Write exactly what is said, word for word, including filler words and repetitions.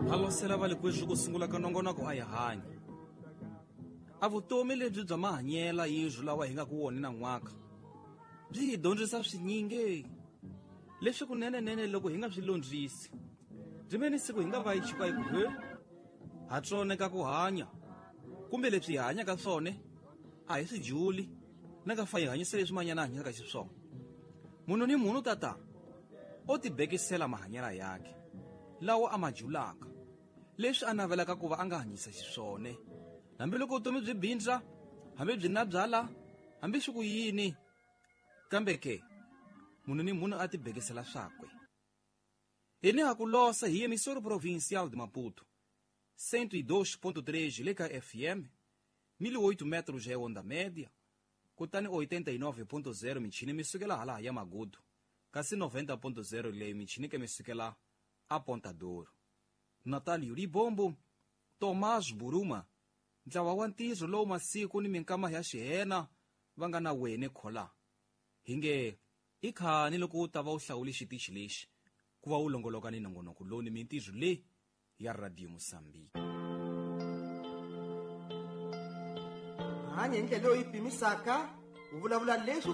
Halosela va le kweswi ku sungula ka nongonoko a hi hanya. A vutomi lebyi bya mahanyela yindlu lawa hi nga ku wona na n'waka byi hi dyondzisa swinyingi leswi kunenenene loko hi nga swi londzisi byi ve ni siku hi nga va hi chika hi ku he ha tsoneka ku hanya kumbe leswi hi hanyaka swona a hi swi juli na ka fa hi hanyisa leswi manyana hanyaka xiswona. Munhu ni munhu tata o tibekisela mahanyela yakhe lawa a ma julaka leswi a navelaka ku va a nga hanyisa xiswona hambiloko vutomi byi bindza hambi byi na byala hambi swi ku yini kambe ke munhu ni munhu a tibekisela swakwe. Hi ni ha ku losa hi emissora provincial de Maputo cento e dois ponto três le ka F M mil e oito metros é onda média kutani oitenta e nove ponto zero michini mi sukela hala ya Magudu kasi noventa ponto zero leyi michini ke mi sukela a Ponta d'Ouro. Natalio Libombo, Tomás Buruma, ntlawa wa ntirho lowu masiku ni minkama ya xihena va nga na wene khola hi nge i khani loko u ta va u hlawule xitichi lexi ku va u longoloka ni nongonoko lowu ni mintirho leyi ya Radio Mozambique. Hanya hi ndlela leyi pimisaka u vulavula leswi